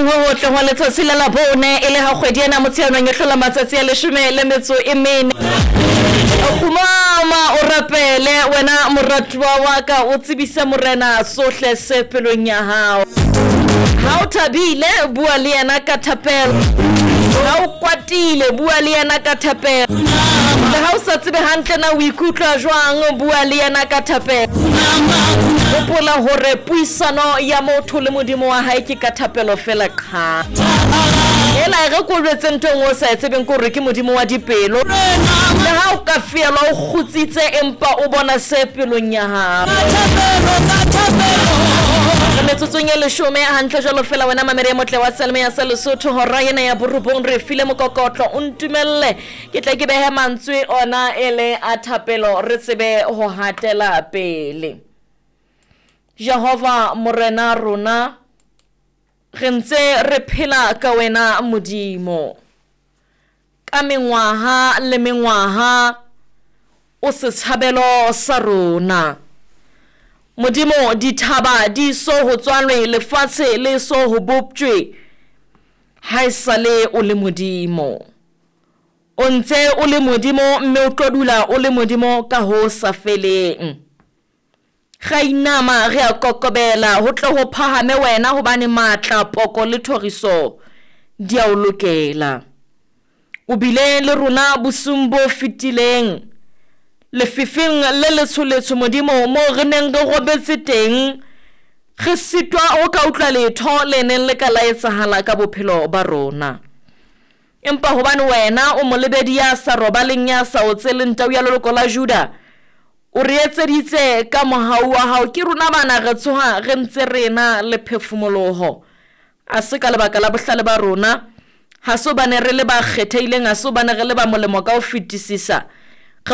Hoseng ho hotle hwa letsatsi la Labone e le ha kgwedi ena Motsheanong e hlola matsatsi a leshome le metso e mene. Kgumama o rapele wena moratuwa wa ka, o tsebise Morena sohle se pelong ya hao. Ha o thabile, bua le yena ka thapelo. Ha o kwatile, bua le yena ka thapelo. Le ha o sa tsebe hantle na o ikutlwa jwang, bua le yena ka thapelo. Hopola hore puisano ya motho le Modimo wa hae ke ka thapelo fela qha. Hela e re ko jwetse ntho e nngwe o sa e tsebeng ke hore ke Modimo wa dipelo. Le ha o ka fielwa o kgutsitse empa o bona se pelong ya hao. Re metsotsong e leshome hantle jwalo fela wena mamedi e motle wa Selma ya sa Lesotho hora ena ya borobong re file mokokotlo o ntumelle ke tle ke behe mantswe ona e le a thapelo re tsebe ho hatela pele. Jehova Morena rona re ntse re phela ka wena Modimo. Ka mengwaha le mengwaha o setshabelo sa rona. Modimo dithaba di so ho tswalwe lefatshe le so ho boptjwe haesale o le Modimo. O ntse o le Modimo mme o tlo dula o le Modimo ka ho sa feleng. Re a inama, re a kokobela, ho tle ho phahame wena, hobane matla, poko le thoriso di a o lokela. O bile le rona bosiung bo fetileng, lefifing le letsholetsho, Modimo, moo re neng re robetse teng, re sitwa ho ka utlwa letho le neng le ka la etsahala ka bophelo ba rona. Empa hobane wena o molebedi ya sa robaleng, ya sa otseleng, tau ya leloko la Juda, O re etseditse ka mohau wa hao. Ke rona bana re tsoha re ntse re ena le phefumoloho. Ha se ka lebaka la bohlale ba rona, ha se hobane re le ba kgethehileng, ha se hobane re le ba molemo ka ho fetisisa.